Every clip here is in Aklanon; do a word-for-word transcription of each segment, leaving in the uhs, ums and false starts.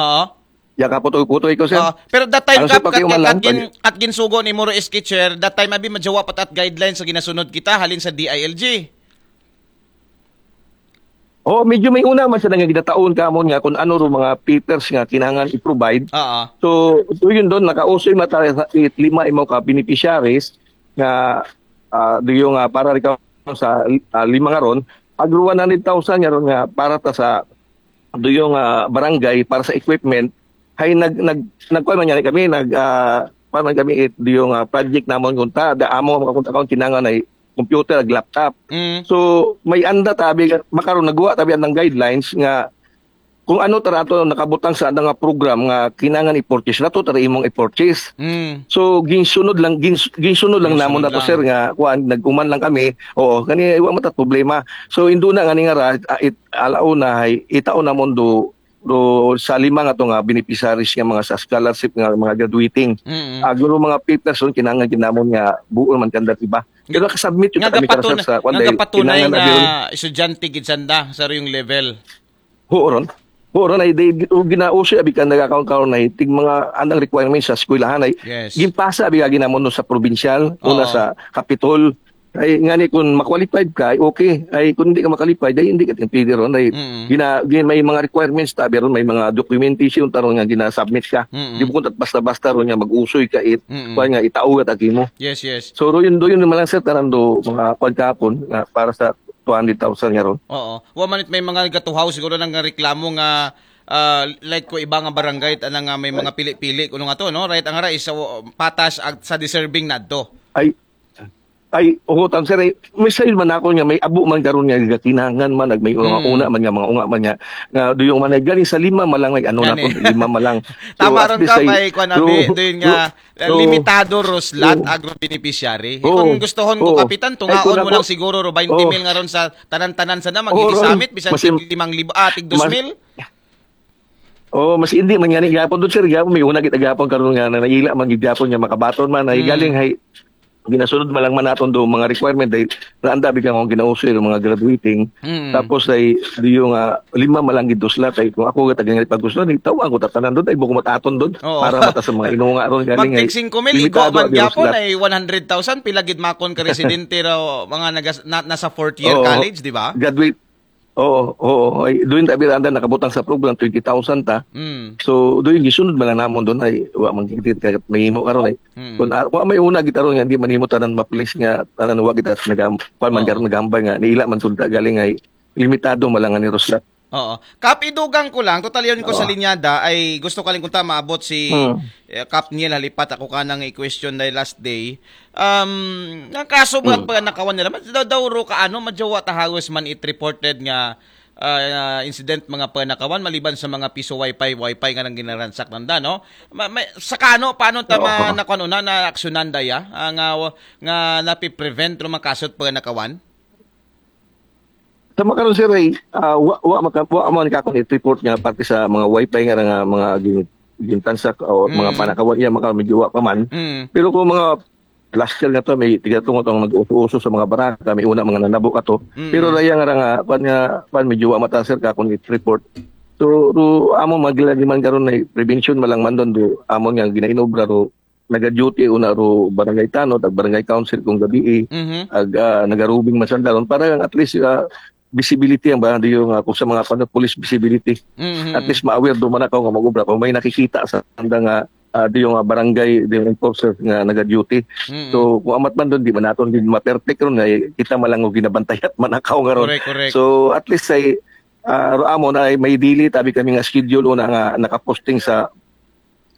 Oo. Ya ka putoy-putoy ko, sir. Oo. Pero that time, Ano, sir, Kap, kat, pakiuman kat, lang, gin, kat ginsugo ni Moro S K Chair, that time abi madyawa pa ta at guidelines sa ginasunod kita halin sa D I L G. Oo, medyo may una man siya nga gidataon ka mo nga kung ano ro mga papers nga kinahanglan i-provide. Oo. So, so yun doon, nakausoy mata sa it lima imo ka beneficiaries nga ah, do yung ah, para ikaw sa ah, lima nga ron, pag one hundred thousand nga ron nga para ta sa do yung ah, barangay para sa equipment, hay nag nag nagkuan man yan kami, nag ah, kuan man kami it do yung ah, project namon kung ta da amo ang kung ta kinahanglan ay computer ag laptop. Mm. So may anda tabi makaron nagwa tabi ang guidelines nga kung ano tara ato nakabutang sa nga program nga kinahanglan i-purchase nato tara imong i-purchase. Mm. So ginsunod lang gins, ginsunod lang Ginsunod namon nato lang. Sir nga kuan nagkuman lang kami. Oo, kani wa man ta problema. So induna nga ni nga ra ah, it, alauna hay itaon namon do do sa lima nga to nga beneficiaries nga mga sa scholarship nga mga graduating. Mm. Agro mga papers ron kinahanglan kinamon nga buo man kanda iba. Pero nakasubmit yun Nga kami gapatun- Sir sa kuan nga dahil gapatunay kinahanglan nga abi ron. Estudyante gid sanda sa riyong level. Oo ron. Oo ron ay di o ginauso abi ka nagakaon karon na tig mga anang requirements sa eskwelahan ay Yes. ginpasa abi ka ginamon no sa provincial una Oo. sa Capitol ay ngani kung ma-qualified ka ay okay ay kung hindi ka ma-qualified ay hindi ka pwede ron ay Mm. gina, gina may mga requirements tabi ron may mga documentation taron nga gina-submit ka. Mm. Di mo kung basta-basta ron nga mag-usoy ka it Mm. kuan nga itao ka tagi mo. Yes, yes. So ro yun do yun naman lang sir tanan do mga kuan kahapon nga para sa two hundred thousand nga ron. Oo. Wa man it may mga gatuhaw siguro nang reklamo nga ah, like ko iba nga barangay ana nga may mga pili-pili kuno nga to no, right, ang ara is uh, patas ag sa deserving nadto. Ay ay oo tan sir ay may sayod man ako nga may abo man karon nga gakinangan man nag may una, Mm. una man nga mga unga man nga nga duyong man ay gani sa lima man lang ay ano na Gani. to lima man lang. Tama at ron least ka ay- may kuan abi so- doon nga so- limitado ro slot so- agro beneficiary. Oo. Kung gustohon ko Oo. kapitan Ay, tungaon kung mo ako- lang siguro ro twenty mil nga ron sa tanan-tanan sa na Oo, ron. magigisamit bisan Masim- tig limang libo ah tig dos mil. Oh, mas hindi man gani gyapon doon sir gyapon may una kita gyapon karon nga na naila man gid gyapon nga makabaton man ay Mm. galing hay ginasunod man lang man naton do mga requirement dahil naanda bigyan akong ginauso yung mga graduating Mm. tapos ay di yung ah, lima man lang gid dos slot ay kung ako gatagan nga pag gusto ni tawa ko tatanan doon ay buko mataton doon Oo. Para mata sa mga inunga ron galing ay Magtig singko mil igo limitado man ang dos gyapon slot. Ay one hundred thousand pila gid makon ka residente raw mga nagas, na, nasa fourth year Oo. College, di ba? Graduate Oo, oo. Ay, doon tabi anda nakabutang sa program twenty thousand ta. Mm. So, doon gisunod man lang namon doon ay wa man gid kay mahimo karon ay. Mm. Kung ah, wa may una gid karon nga di man himo tanan ma-place nga tanan wa kita nagam kuan man Oo. karon nagambay nga niila man sunta galing ay limitado man lang ni Rosla. Oo. Kap, idugang ko lang, total yun ko sa Oo. linyada, ay gusto ka lang kunta maabot si Hmm. eh, Kap Niel Halipat, ako ka nang i-question dahil last day. Um, ang kaso ba Hmm. pa nakawan nila, mas daw, daw ro ka ano, madyawa ta halos man it reported nga ah, incident mga panakawan maliban sa mga piso wifi wifi nga nang ginaransak nanda no. Ma, may, sa kano paano ta Oo. ma, nakuan una na aksyonan daya ah, nga nga napi-prevent ro mga kaso panakawan. Sa makaron sir ay ah, wa wa maka, wa man ka akong report nga parte sa mga wifi nga nga mga gin- gintansak o mga Mm. panakawan iya maka medyo wa pa man. Mm. Pero kung mga last year nga to may tiga tungo tong nag-uso-uso sa mga baraka may una mga nanabo ka to. Mm. Pero raya nga ra nga pan nga pan medyo wa mata sir ka akong report. So ro amo magilagi man karon na prevention malang man doon do amo nga ginainobra ro naga-duty una ro barangay tanod ag barangay council kung gabi Mhm. ag ah, nagarubing man sanda ron para at least ah, visibility ang ba yung uh, kung sa mga ano, police visibility. Mhm. At least ma-aware do man ako nga mag-ubra kung may nakikita sa anda nga ah, di yung ah, barangay di yung enforcer nga naga-duty. Mhm. So kung amat man doon di man naton din ma-perfect ron nga eh, kita man lang og ginabantayan man ako nga ron. Correct, correct. So at least say ah, ro amo na ay may dili tabi kami nga schedule una nga nakaposting sa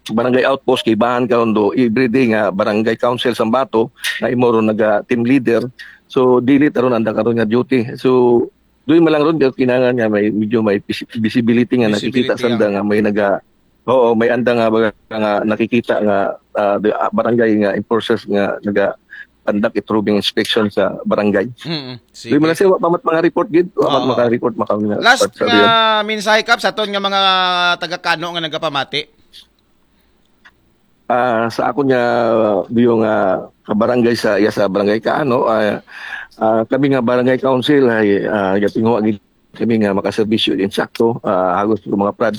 barangay outpost kay bahan karon do everyday nga barangay council sa Ambato nga imo ron naga team leader. So dili taron anda karon nga duty. So doon man lang ron kinahanglan nga may medyo may visi- visibility nga Visibility nakikita sanda nga may naga Oo, may anda nga baga nga nakikita nga ah, the, ah, barangay nga enforcers nga naga conduct it roving inspection sa barangay. Mm, sige. Doon man lang sir, wa pa mat mga report gid, wa pa Oo. mga report maka Last sa nga mensahe, Kap, sa aton nga mga taga-Kano nga nagapamati. Ah, sa akon nga biyo nga kabarangay sa iya sa barangay Kano, ah, ah, kami nga barangay council ay ah, yatinguha gid kami nga makaserbisyo insakto ah, hagos sa mga project